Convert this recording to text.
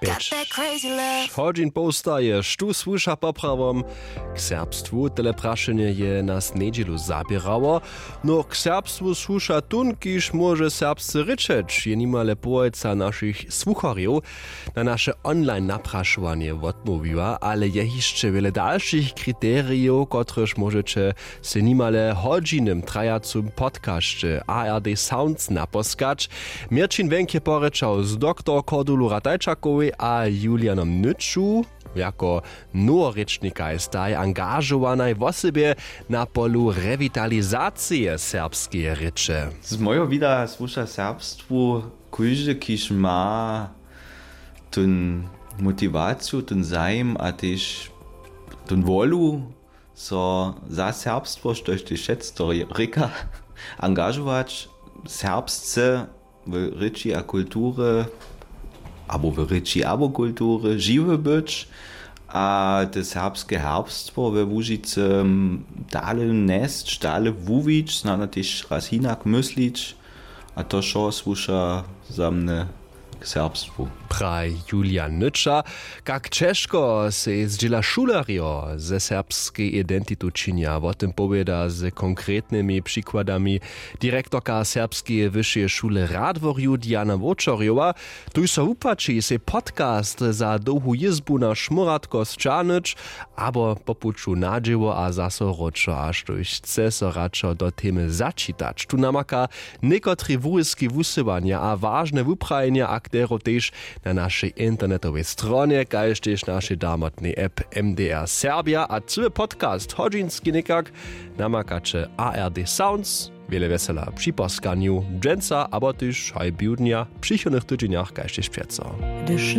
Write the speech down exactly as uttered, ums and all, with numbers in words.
Pjeć hodźin powstaje, štó słuša poprawom k serbstwu? Tele prašenje je nas njedźelu zaběrało. No, k serbstwu słuša tón, kiž móže serbsce rěčeć, je nimale połojca našich słucharjow na naše online naprašowanje wotmołwiła, ale je hišće wjele dalšich kriterijow, kotrež móžeće sej nimale w hodźinym trajacym podcasće A R D Sounds naposkać. Měrćin Wenk je porěčał z doktor Kordulu Ratajčakowej a Julianom Nyču. Jako noworěčnikaj staj angažowanaj wosebje na polu rewitalizacije serbskeje rěče. Z mojeho wida słuša serbstwu kóždy, kiž ma tón motiwaciju, tón zajim a tež tón wolu, so za serbstwo, štož tež wšetc to rěka, angažować, serbsce w rěči a kulturje, abo w rěči abo kulturje žiwy być a te serbske herbstwo we Łužicy dale njesć, dale wuwić, snano tež raz hinak myslić. A to wšo słuša za mnje k serbstwu. Praj Julian Nyča. Kak ćežko sej zdźěla šulerjo ze serbskej identitu činja, wo tym powěda z konkretnymi přikładami direktorka Serbskeje wyšeje šule w Radworju Diana Wočerjowa. Tuž so wupłaći sej podcast za dołhu jězbu na Šmóratko sćahnyć abo po puću na dźěło a zaso wróćo, a štóž chce so radšo do temy začitać. Tu namaka někotrej wuryski wusyłanja a wažne wuprajenja akterow tež na našej internetowej stronje, kaž tež našej damotnej app M D R Serbja. A cyły podcast hodźinski někak namakaće A R D Sounds. Wjele wjesela při poskanju dźensa abo tež haj biwdnja w přichodnych tydźenjach, kaž tež přeco. Hdyž